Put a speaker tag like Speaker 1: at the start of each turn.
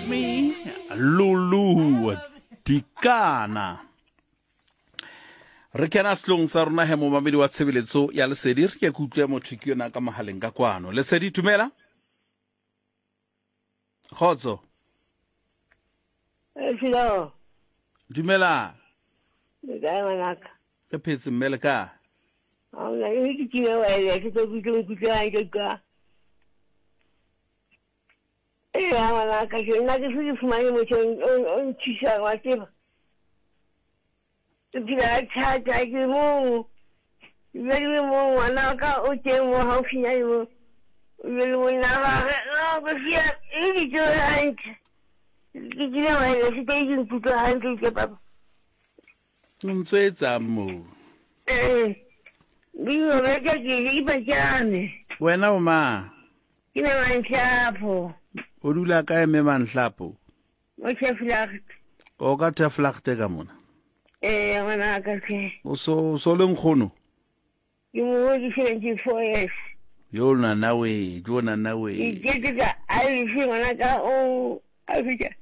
Speaker 1: Love Me, Lulu Dikana. Re kena setlong sa rona he momamedi wa tshebeletso ya Lesedi, re ke ke utlwe motho ke yona ka mohaleng ka kwano. Lesedi, tumela. Kgotso.
Speaker 2: Hello.
Speaker 1: Dumela.
Speaker 2: Le kae ngwanaka?
Speaker 1: Re phetse mme le kae?
Speaker 2: Aona e ke kile wa ele ke tlo kutlwe nkutlwe hantle ka. Ee ngwanaka ke nna ke se ke fumane motho o nthusang wa tseba. Ke phela ka thata ke mong. Ebile ke le mong ngwana wa ka o teng mo haufinyane mo. Ebile le monna wa gagwe no ke sia e ke tsoge hantle. Ke kile wa ele se ke nkutlwe hantle ke papa.
Speaker 1: O ntso etsang moo?
Speaker 2: Ee, ke ke ke pajame.
Speaker 1: Wena o mang?
Speaker 2: Ke me Manhlapo.
Speaker 1: O dula kae me Manhlapo?
Speaker 2: Mo Teflagte.
Speaker 1: O ka Teflagte ka mona?
Speaker 2: Ee, ngwana ka ke.
Speaker 1: O so so le nkgono?
Speaker 2: Ke mo ke 74 years.
Speaker 1: Yo nana we, yo nana we.
Speaker 2: Ke ke ka a le ngwana ka o a fitla.